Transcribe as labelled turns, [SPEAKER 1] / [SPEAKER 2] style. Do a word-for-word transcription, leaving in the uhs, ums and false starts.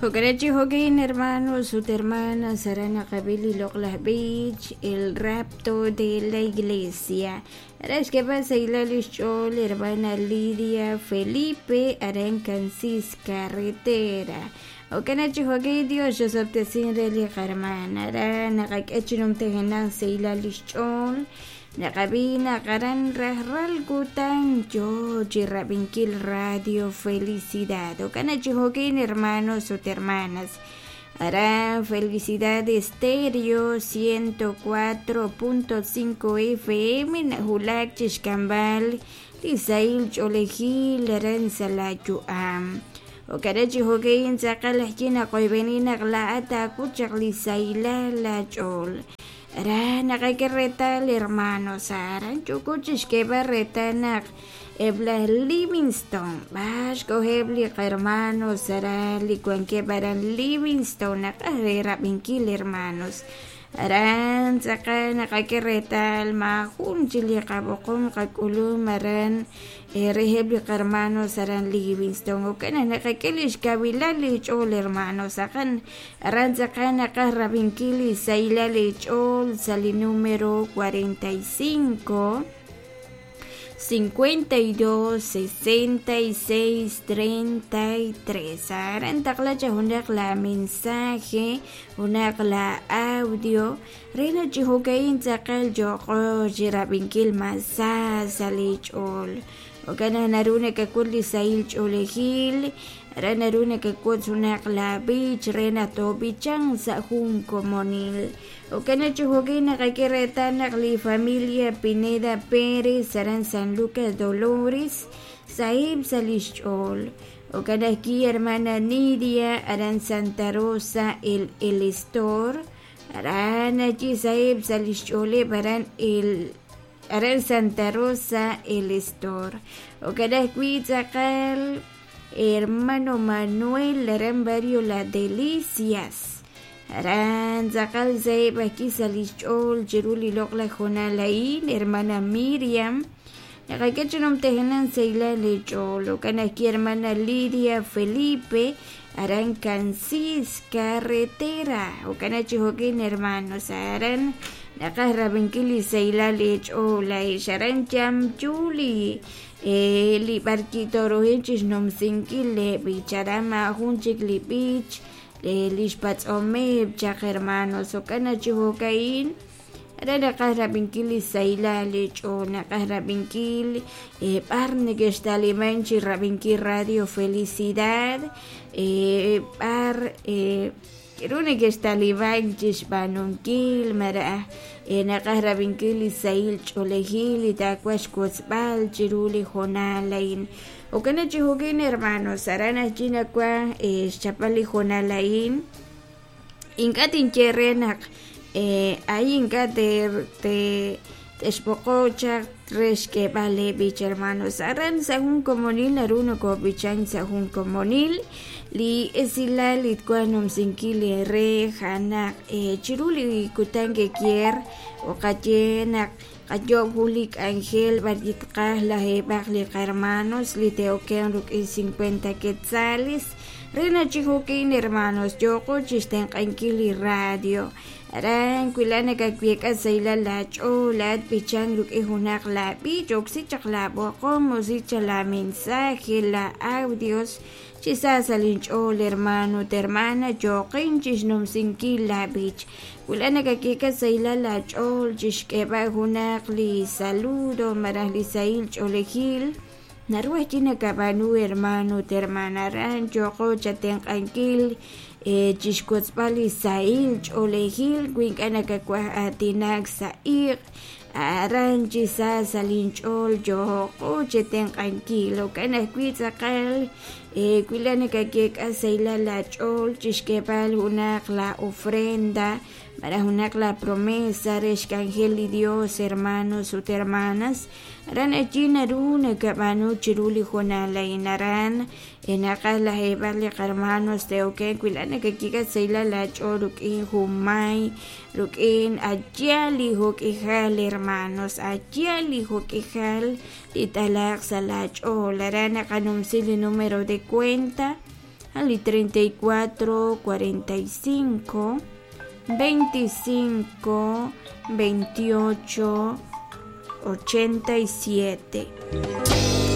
[SPEAKER 1] Jo'kan jo'kin hermanos ut hermanas aran naqab'i li loq'laj b'ich El rapto de la iglesia aran xk'eeb'al sahilal lix ch'ool hermana Lidia Felipe aran Cansis Carretera. Jo'kan chi jo'kin Dios xosob'tesin re li qarmana aran naqak'e chi numtajenaq sahilal lix ch'ool naqab'i naq aran rajlal kutan yoo chi rab'inkil Radio Felicidad. Jo'kan chi jo'kin hermanos ut hermanas aran Felicidad Estéreo ciento cuatro punto cinco F M najulak chi xk'amb'al li sahil ch'oolejil aran sa' la yu'am. Jo'kan chi jo'kin tz'aqal ajwi' naqoyb'eni naq laa'at taak'ut chaq li sahilal la ch'ool. Aran naqak'e reetal hermanos aran yuku chi xk'eeb'al reetal naq eb' laj Livingston b'ax k'ojeb' li hermanos aran li wankeb' aran Livingston naqaj re rab'inkil hermanos. Aran tz'aqal naqak'e reetal maajun chi li qab'oqom qak'ulum aran reheb' li hermanos aran Livingston. Jo'kan naqak'e lix kawilal li ch'ool hermanos aqan aran tz'aqal naqaj rab'inkil li sahilal li ch'ool sa' li número cuarenta y cinco cincuenta y dos sesenta y seis treinta y tres. Aran taqla cha junaq la mensaje junaq la audio re chi jo'kain tz'aqal yoqo chi rab'inkil mas sa sa' li ch'ool. Jo'kan naru nakak'ul li sahil ch'oolejil aran naru nakak'ut junaq la b'ich re naq toob'ichan sa' jun komonil. Jo'kan chi jo'kin naqak'e reetal naq li familia Pineda Pérez aran San Lucas Dolores sahib sa' lix ch'ool. Jo'kan ajwi' hermana Nidia aran Santa Rosa el El Estor aran allí sahib sa' lix ch'ooleb aran el aran Santa Rosa el Estor. Jo'kan ajwi' tz'aqal hermano Manuel aran barrio La Delicias aran tz'aqal sahib ajwi' sa' lix ch'ool chiru li loq'laj jonal a'in hermana Miriam naqak'e chi numtajenan sahilal li ch'ool. Jo'kan ajwi' hermana Lidia Felipe aran Cansis Carretera. Jo'kan chi jo'kin hermanos aran naqaj rab'inkil li sahilal li ch'ool a'ix aran chamchuli li b'arkitorohil chi xnumsinkil le b'ich aran maajun chik li b'ich lix patz'omeb' chaq hermanos. Jo'kan chi jo'ka'in aran naqaj rab'inkil li sahilal li ch'ool naqaj rab'inkil b'ar neke'xtaliman chi rab'inkil Radio Felicidad b'ar k'aru neke'xtaliman chi xb'aanunkil maraj naqaj rab'inkil li sahil ch'oolejil li taawa xkotzb'al chiru li jonal a'in. Jo'kan chi jo'kin hermanos aran ajwi' nawa xchapal li jonal a'in ink'a' tinye re naq ahí ink'a' te te texb'oqo chaq re xk'eeb'al le b'ich hermanos aran sa' jun komonil naru nokob'ichan sa' jun komonil li esilal li tkwa numsinkil li re janaq chiru li kutan kekier o qaye naq qayob' jun li k'anjel b'arkitqaj lajeeb'aq li hermanos li te'oken ruk'in cincuenta quetzales re chi jo'kin hermanos yoqo chi xtenq'ankil li radio aran wila nakakwiek'a sahilal la ch'ool laat b'ichan ruk'in junaq la b'ich oksi chaq la b'oqom oksi chaq la mensaje la audios chi sa sa' linch'ool hermano ut hermana yoqin chi xnumsinkil la b'ich wila nakakiek'a sahilal la ch'ool chi xk'eeb'al junaq li saludo maraj li sahil ch'oolejil naru ajwi' nakab'aanu hermano ut hermana aran yoqo chatenq'ankil chi xkotzb'al li sahil ch'oolejil wi ink'a' nakak'uaj aatinak sa' iq' aran chi sa sa' linch'ool yoqo chetenq'ankil. Jo'kan ajwi' tz'aqal wila nakakiek'a sahilal la ch'ool chi xk'eeb'al junaq la ofrenda maraj junaq la promesa re xk'anjel li Dios hermanos ut hermanas aran allí naru nakab'aanu chiru li jonal a'in aran naqaj lajeeb'aq li hermanos te'oken wila nakakiek'a sahilal la ch'ool ruk'in junmay ruk'in allá li jok'ijal hermanos allá li jok'ijal li talaq sa' la ch'ool aran naqanumsi li número de cuenta Ali treinta y cuatro, cuarenta y cinco, veinticinco, veintiocho, ochenta y siete.